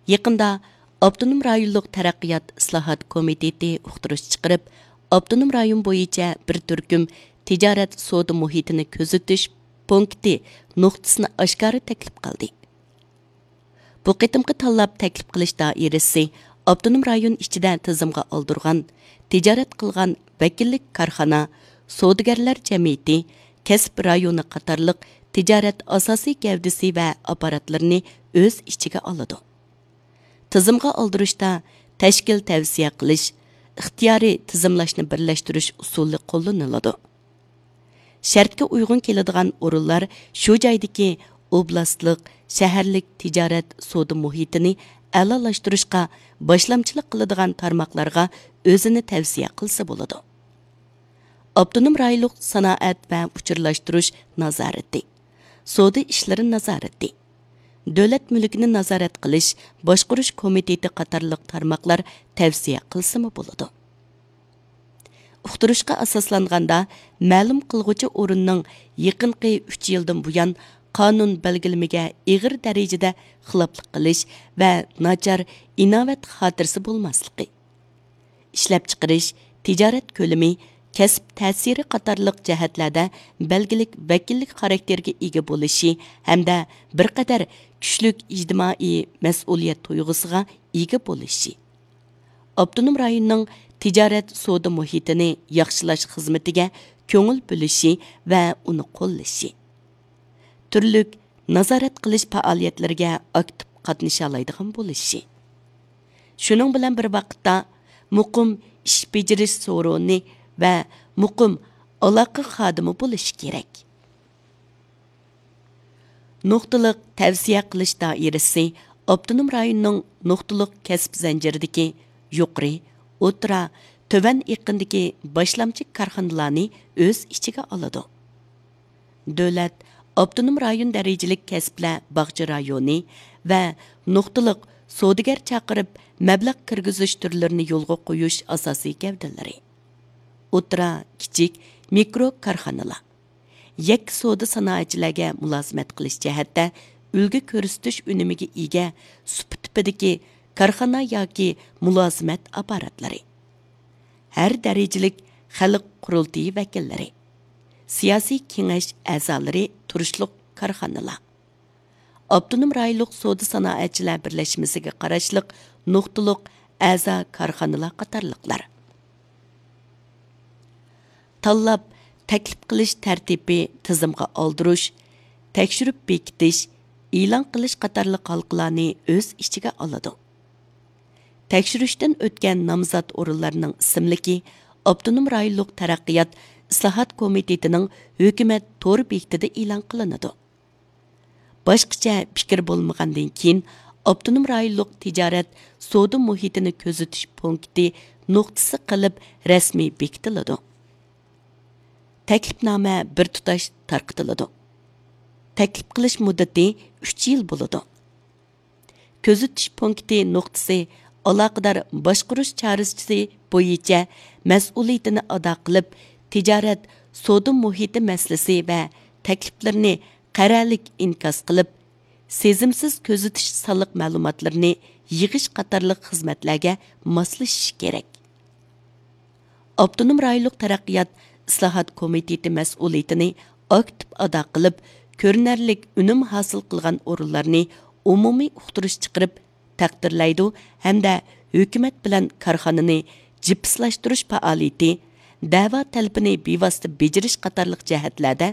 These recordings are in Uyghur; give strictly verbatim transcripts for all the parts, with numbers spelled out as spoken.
يېقىندا ئاپتونوم رايونلۇق تەرەققىيات ئىسلاھات كومىتېتى ئۇقتۇرۇش چىقىرىپ، ئاپتونوم رايون بويىچە بىر تۈركۈم تىجارەت سودا مۇھىتىنى كۆزىتىش پونكىتى نۇقتىسىنى ئاشكارا تەكلىپ قىلدى. بۇ قېتىمقى تاللاپ تەكلىپ قىلىش دائىرىسى ئاپتونوم رايون ئىچىدە تىزىمغا ئالدۇرغان، تىجارەت قىلغان ۋەكىللىك كارخانا، سودىگەرلەر جەمئىيىتى، كەسىپ رايونى قاتارلىق تىجارەت ئاساسىي گەۋدىسى ۋە ئاپپاراتلىرىنى ئۆز ئىچىگە ئالىدۇ. تىزىمغا ئالدۇرۇشتا تەشكىل تەۋسىيە قىلىش، ئىختىيارىي تىزىملاشنى بىرلەشتۈرۈش ئۇسۇلى قوللىنىلىدۇ. شەرتكە ئۇيغۇن كېلىدىغان ئورۇنلار شۇ جايدىكى ئوبلاستلىق، شەھەرلىك تىجارەت سودا مۇھىتىنى ئەلالاشتۇرۇشقا باشلامچىلىق قىلىدىغان تارماقلارغا ئۆزىنى تەۋسىيە قىلسا بولىدۇ. ئاپتونوم رايونلۇق سانائەت ۋە ئۇچۇرلاشتۇرۇش نازارىتى، سودا ئىشلىرى نازارىتى، دۆلەت مۈلكىنى نازارەت قىلىش، باشقۇرۇش كومىتېتى قاتارلىق تارماقلار تەۋسىيە قىلسىمۇ بولىدۇ. ئۇقتۇرۇشقا ئاساسلانغاندا، مەلۇم قىلغۇچى ئورۇننىڭ يېقىنقى ئۈچ يىلدىن بۇيان قانۇن بەلگىلىمىگە ئېغىر دەرىجىدە خىلاپلىق قىلىش ۋە ناچار ئىناۋەت خاتىرىسى بولماسلىقى، ئىشلەپچىقىرىش، تىجارەت كۆلىمى، كەسىپ تەسىرى قاتارلىق جەھەتلەردە بەلگىلىك ۋەكىللىك خاراكتېرىگە ئىگە بولۇشى ھەمدە بىر قەدەر كۈچلۈك ئىجتىمائىي مەسئۇلىيەت تۇيغۇسىغا ئىگە بولۇشى، ئاپتونوم رايوننىڭ تىجارەت سودا مۇھىتىنى ياخشىلاش خىزمىتىگە كۆڭۈل بۆلۈشى ۋە ئۇنى قوللىشى، تۈرلۈك نازارەت قىلىش پائالىيەتلىرىگە ئاكتىپ قاتنىشالايدىغان بولۇشى، شۇنىڭ بىلەن بىر ۋاقىتتا، مۇقىم ئىش بېجىرىش سورۇنى ۋە مۇقىم ئالاقە خادىمى بولۇشى كېرەك. نۇقتىلىق تەۋسىيە قىلىش دائىرىسى ئاپتونوم رايوننىڭ نۇقتىلىق كەسىپ زەنجىرىدىكى يۇقىرى، ئوتتۇرا، تۆۋەن ئېقىندىكى باشلامچى كارخانىلارنى ئۆز ئىچىگە ئالىدۇ. دۆلەت، ئاپتونوم رايون دەرىجىلىك كەسىپلەر باغچە رايونى ۋە نۇقتىلىق سودىگەر چاقىرىپ مەبلەغ كىرگۈزۈش تۈرلىرىنى يولغا قويۇش ئاساسىي گەۋدىلىرى. ئوتتۇرا، كىچىك، مىكرو كارخانىلار. يەككە سودا سانائەتچىلەرگە مۇلازىمەت قىلىش جەھەتتە ئۈلگە كۆرسىتىش ئۈنۈمىگە ئىگە، سۇپا تىپىدىكى كارخانا ياكى مۇلازىمەت ئاپپاراتلىرى. ھەر دەرىجىلىك خەلق قۇرۇلتىيى ۋەكىللىرى، سىياسىي كېڭەش ئەزالىرى تۇرۇشلۇق كارخانىلار، ئاپتونوم رايونلۇق سودا سانائەتچىلەر بىرلەشمىسىگە قاراشلىق نۇقتىلىق ئەزا كارخانىلار قاتارلىقلار. تاللاپ تەكلىپ قىلىش تەرتىپى تىزىمغا ئالدۇرۇش، تەكشۈرۈپ بېكىتىش، ئېلان قىلىش قاتارلىق ھالقىلارنى ئۆز ئىچىگە ئالىدۇ. تەكشۈرۈشتىن ئۆتكەن نامزات ئورۇنلارنىڭ ئىسىملىكى ئاپتونوم رايونلۇق تەرەققىيات ئىسلاھات كومىتېتىنىڭ ھۆكۈمەت تور بېكىتىدە ئېلان قىلىنىدۇ. باشقىچە پىكىر بولمىغاندىن كېيىن، ئاپتونوم رايونلۇق تىجارەت سودا مۇھىتىنى كۆزىتىش پونكىتى نۇقتىسى قىلىپ رەسمىي بېكىتىلىدۇ. تەكلىپنامە بىر تۇتاش تارقىتىلىدۇ. تەكلىپ قىلىش مۇددىتى ئۈچ يىل بولىدۇ. كۆزىتىش پونكىتى نۇقتىسى ئالاقىدار باشقۇرۇش چارىسى بويىچە مەسئۇلىيىتىنى ئادا قىلىپ، تىجارەت سودا مۇھىتى مەسىلىسى ۋە تەكلىپلىرىنى قەرەلىك ئىنكاس قىلىپ، سېزىمسىز كۆزىتىش سانلىق مەلۇماتلىرىنى يىغىش قاتارلىق خىزمەتلەرگە ماسلىشىشى كېرەك. ئاپتونوم رايونلۇق تەرەققىيات ئىسلاھات كومىتېتى مەسئۇلىيىتىنى ئاكتىپ ئادا قىلىپ، كۆرۈنەرلىك ئۈنۈم ھاسىل قىلغان ئورۇنلارنى ئومۇمىي ئۇقتۇرۇش چىقىرىپ تەقدىرلەيدۇ ھەمدە ھۆكۈمەت بىلەن كارخانىنى جىپسلاشتۇرۇش پائالىيىتى، دەۋا تەلىپىنى بىۋاسىتە بېجىرىش قاتارلىق جەھەتلەردە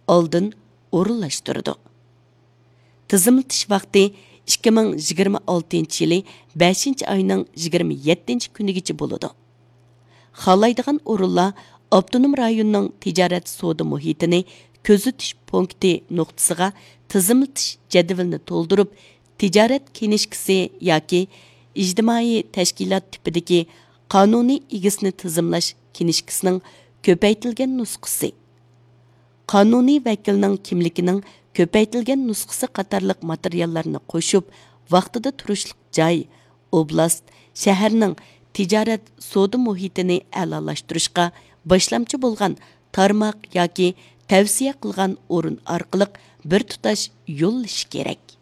ئالدىن ئورۇنلاشتۇرىدۇ. تىزىملىتىش ۋاقتى ئىككى مىڭ يىگىرمە ئالتىنچى يىلى بەشىنچى ئاينىڭ يىگىرمە يەتتىنچى كۈنىگىچە بولىدۇ. خالايدىغان ئورۇنلار ئاپتونوم رايوننىڭ تىجارەت سودا مۇھىتىنى كۆزىتىش پونكىتى نۇقتىسىغا تىزىملىتىش جەدۋىلىنى تولدۇرۇپ، تىجارەت كىنىشكىسى ياكى ئىجتىمائىي تەشكىلات تىپىدىكى قانۇنىي ئىگىسىنى تىزىملاش كىنىشكىسىنىڭ كۆپەيتىلگەن نۇسخىسى، قانۇنىي ۋەكىلنىڭ كىملىكىنىڭ كۆپەيتىلگەن نۇسخىسى قاتارلىق ماتېرىياللارنى قوشۇپ، ۋاقتىدا تۇرۇشلۇق جاي، ئوبلاست، شەھەرنىڭ تىجارەت سودا مۇھىتىنى ئەلالاشتۇرۇشقا باشلامچى بولغان تارماق ياكى تەۋسىيە قىلغان ئورۇن ئارقىلىق بىر تۇتاش يوللىشى كېرەك.